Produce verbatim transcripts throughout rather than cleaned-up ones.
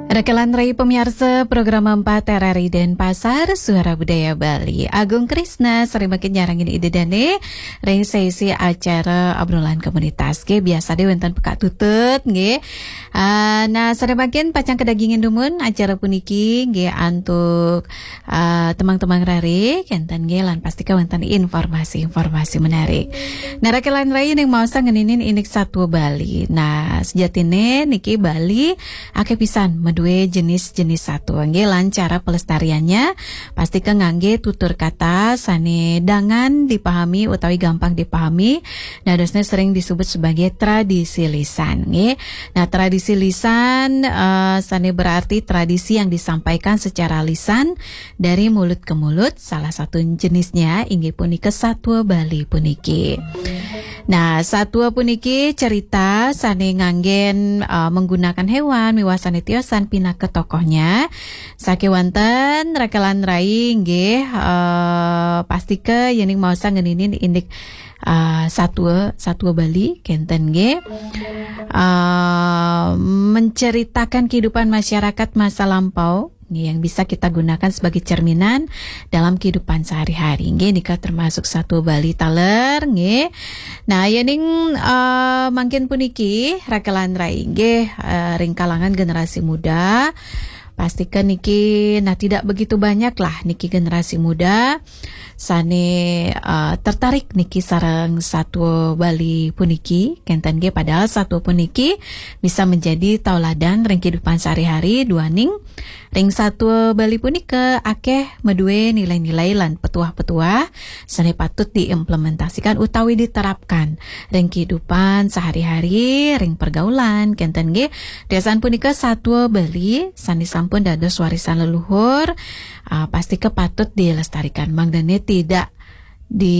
Rekelan rai pemiarsa program empat R R I Denpasar, Suara Budaya Bali. Agung Krisna sareng mangkin nyarengin Ida Dane ring sesi acara obrolan komunitas. Nggih, biasa deh wenten pekak tutut, nggih. Ah, nah, sareng mangkin pacang kadagingin dumun acara puniki, nggih, antuk ah, temang-temang rare, kenten nggih, lan pastika wenten informasi-informasi menarik. Nah, rekelan rai ning maosa ngeninin indik satua Bali. Nah, sejatine niki Bali akeh pisan madue jenis-jenis satua nggih, lan cara pelestariannya pastika ngangge tutur kata sane dangan dipahami utawi gampang dipahami. Dadosne sering disebut sebagai tradisi lisan nggih. Nah, tradisi lisan eh, sane berarti tradisi yang disampaikan secara lisan dari mulut ke mulut. Salah satu jenisnya inggih punika satua Bali puniki. Nah, satua puniki cerita sane nganggen eh, menggunakan hewan miwah sane tiosan pinaka tokohnya. Sakewanten rekelan rai nggih eh, pastika yening maosa ngeninin indik eh, satua, satua Bali kenten nggih. Eh, menceritakan kehidupan masyarakat masa lampau nggih, yang bisa kita gunakan sebagai cerminan dalam kehidupan sehari-hari nggih, nika termasuk satua Bali taler nggih. Nah, yening eh, mangkin puniki rekelan rai nggih eh, ring kalangan generasi muda. Pastika niki nah tidak begitu banyak lah niki generasi muda sane eh, tertarik niki sareng satua Bali puniki kenten nggih, padahal satua puniki bisa menjadi tauladan ring kehidupan sehari-hari duaning ring satua Bali punika akeh madue nilai-nilai lan petuah-petuah sane patut diimplementasikan utawi diterapkan ring kehidupan sehari-hari, ring pergaulan kenten nggih. Tiosan punika satua Bali sane sampun dados warisan leluhur ah, pastika patut dilestarikan mangdane tidak di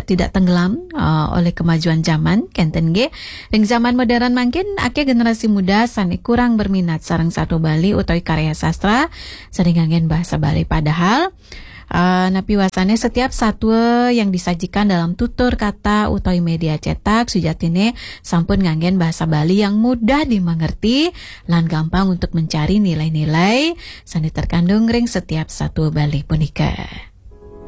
tidak tenggelam uh, oleh kemajuan zaman kenten nggih. Ring zaman modern mangkin akeh generasi muda sane kurang berminat sareng satua Bali utawi karya sastra sane nganggen bahasa Bali, padahal uh, napi wasane setiap satua yang disajikan dalam tutur kata utawi media cetak sujatine sampun nganggen bahasa Bali yang mudah dimengerti lan gampang untuk mencari nilai-nilai sane terkandung ring setiap satua Bali punika.